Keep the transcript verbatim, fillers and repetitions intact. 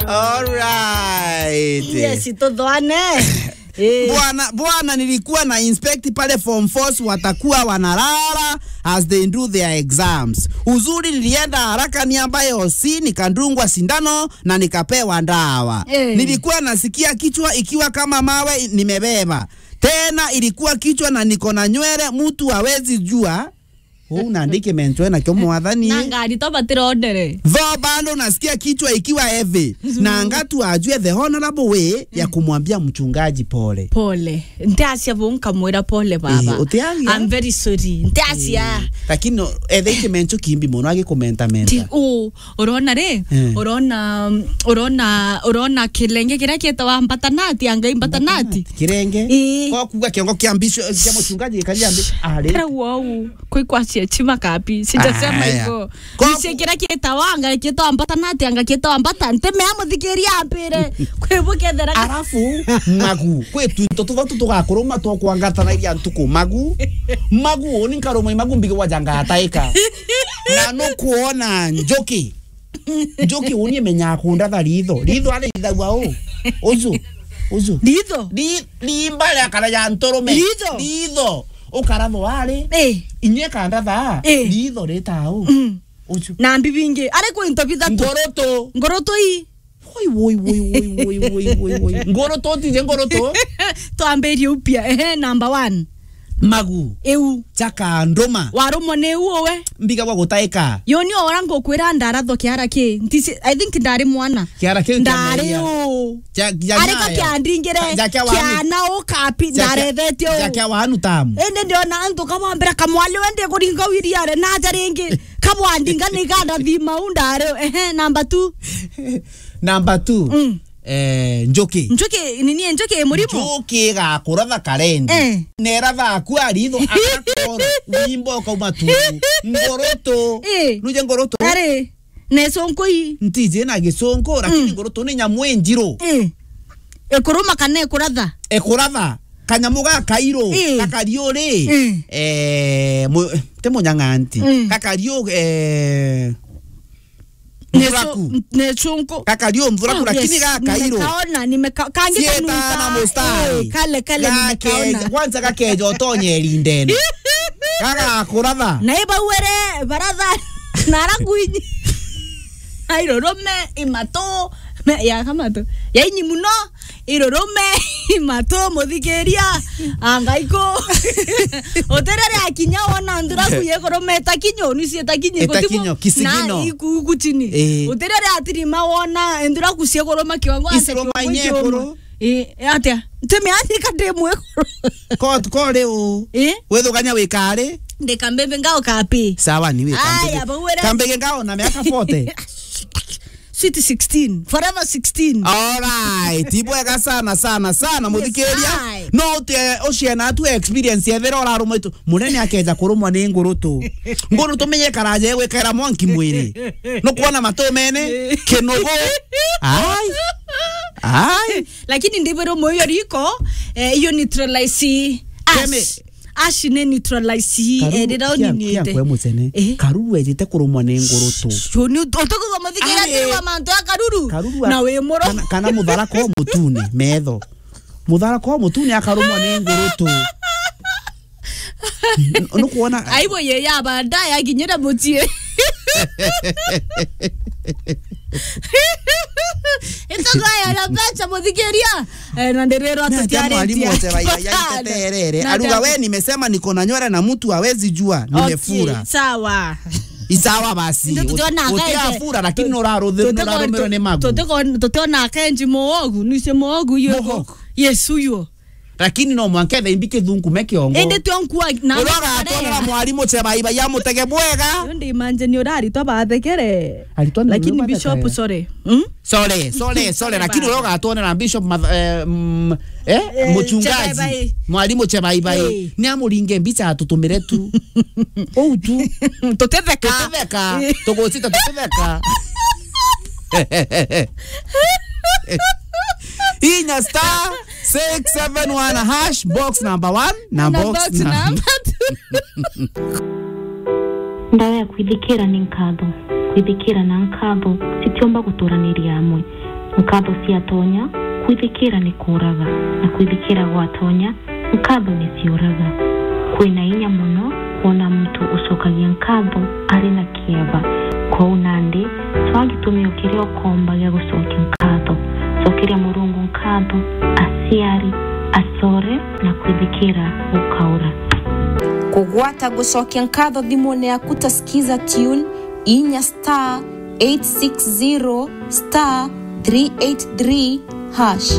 All right. Yes, tuthwane. Eh. Bwana, bwana, nilikuwa na inspect pale form fours watakuwa wanalala as they do their exams. Uzuri nilienda haraka niambaye O C, nikadungwa sindano na nikapewa dawa. Eh. Nilikuwa nasikia kichwa ikiwa kama mawe nimebeba. Tena ilikuwa kichwa na niko na nywele, mtu hawezi jua. Uu nandi kimencho nakio mwathani. Na ngari to batirondere. Though bado nasikia kichwa ikiwa heavy. Mm. Na ngatu ajue the honorable way ya kumwambia mchungaji pole. Pole. Ntiacia bu nkamwira pole baba. Eh, utiaria? I'm very sorry. Ntiacia. Eh, lakini no, ethe kimencho kimbi muno agikumenta menta. Ti-, u-, Urona ri? Eh. Urona, urona, urona kirenge kiria kietawa mbatanati, angai mbatanati. Kirenge? Ii. Kwa kuga kiongo kia mbisho, kia muchungaji gikaria mbi-, ari. Kira wau, kwi kwa cia chima kapi, sijasema hivyo. Kwa nise kiria kietawa, angai kietawa mbatanati, angai kietawa mbata-, ntemea muthikiria ampire. Kwi bu kethera. Arafu, magu, kwi twinto tuthatu tugakuruma twa kwangatanagia ntuku. Magu, magu, uni nkaruma magu mbige wajanga ataika. Na nukwona njuki. Njuki uni imenyaga kundatha ritho. Ritho ari ithagua u. Uju. Uju. Ritho? Ri-, rimba ria kara ya nturume. Ritho? Ritho. Ukarathwa ari. Eh. Inye kandatha. Eh. Ritho rita u. Mm. Uju. Na mbi bingi. Ari kwi into bithatu. Ngurutu. Ngurutu i. Woi, woi, woi. Ngurutu, tije ngurutu. Twambirie upya. Ehe, number one. Magu. Iu. Chaka nduma. Warumwa ni iu uwe? Mbiga gwa gutaika. Yoni ora ngukwira ndarathwa kiara ki. Ntisi, I think ndari mwana. Kiara ki. Ndari u. Areka kiandingire. Kiana ukapi, ndarethetio. Jakia wanu tamu. Indi ndiona antu kamwambira kamwali wende kuringa wiriare na aja ringi. Kabwandinga ni ganda thima u ndari. Ehe, number two. Number two. Mm. Eh, njuki. Njuki, nini njuki murimu? Njuki igakuratha karendi. Eh. Neratha aku aritho akakoro, wimbo ukauma tu. Ngurutu. Eh. Nuje ngurutu. Ari, ne sonko i. Ntije na giconko, lakini mm, ngurutu ni nyamu injiru. Eh. Ekuruma kana ekuratha? Ekuratha. Kanyamu ga kairu, eh, gakariuri. Eh. Eh, mu-, ti munyang'anti. Mm. Gakariu, eh, Mthuraku. Nechunku. Kakari o mthuraku, oh, lakini yes, gakairu. Nimekaona, nimeka-, kangi sieta kanunga na mustari. Eh, kale, kale, gakeja, nimekaona. Kwanza gakeja utonye erindene. Gagakuratha. Na ibauere baratha, narakwinyi. Airurume, imatu, me-, ya kamatu. Yainyi muno. Irurume, imatu, muthikiria, angaiku. Utirere akinya wona nthuraku yekuruma itakinyo, ni cio itakinyo, itakinyo, kisigino. Na iku, iku chini. Eh. Utirere atirima wona nthuraku ciekuruma kiongo, ati isiruma kiongo inyekuru. Eh, atia? Ntimi athika ndi mwekuru. Ko, ko ri u? Eh? Withugania wikari? Ndika mbebe ngao kapi. Sawa, ni wika. Aya, mbebe. Bauere. Kambege ngao na miaka forty. Sweet sixteen. Forever sixteen. Alright. Ibwega sana, sana, sana, yes, muthikiria. Aye. No uti, eh, uciana tu experience ethira urarumwa itu. Munene akeja kurumwa ni ngurutu. Ngurutu menye karaje gwikara mwanki mwiri. No kuona matu mene, kinugu. Ai. Ai. Lakini ndibiro moyo riko, eh, iyo neutralize. Ash. Kemi-, Ash ni neutralize hii, eh, rira uniniite. Karu-, kia, kia nkwe mucene. Eh? Karuru ejite kurumwa ni ngurutu. Shoni, ut-, utukuthoma thikira. Ari. Tirwa mantu ya karuru. Karuru a-, na wi muro. Kana, kana mutharaka o mutune, metho. Mutharaka o mutune akarumwa ni ngurutu. N-, nukwona? Aibo ye ya baadaye akinyira mucii. Itogoya na mbeca, muthikiria. Eh, na ndiriro. Ni atia mwalimu tutiaritie. Oche bai-, bai-, aiteterere. Na aruga, atia- "We, nimesema niko na nywele na mtu hawezi jua, nimefura." Okay, sawa. Isawa basi. Ndio tutiona uti-, akaeje. Utiafura, lakini tu-, nuraruthi-, tutiko-, nurarumirwo ni magu. Tutiko-, tutiona akenji muogu, nise muogu yo. Muogu. Yesu yo. Lakini no mwanka ethe imbi kithungume kiongo. Indi tio nkua na uroga atwara mwalimu chebaibai amutege bwega. Yo ndi imagine uraritwa bathekere. Aritwa ni. Lakini bishop, sorry. Hmm? Sorry, sorry, sorry, lakini uroga atwara bishop math-, eh, mm, eh, eh, muchungaji. Chebaibai. Mwalimu chebaibai. Eh. Ni amuringe mbicha atutumire tu. Ou tu. Tutetheka. Tutetheka. Eh. Tugucita tutetheka. Inya star six seven one hash, box number one na box number two. Ndawa ya kwithikira ni nkatho. Kwithikira na nkatho citiumba guturaniria amwe. Nkatho ciatonya, kwithikira ni kuuraga, na kwithikira gwatonya, nkatho ni ciuraga. Kwina inya mono kwona muntu ucokagia nkatho ari na kieba. Kwou nandi, twaa gitumio kiria ukomba gia gucokia nkatho. Cokeria Murungu nkatho, aciari, acore, na kwithikira gukaura. Kugwata gucokia nkatho thimune yaku ta Skiza Tune, inya star eight six zero star three eight three hash.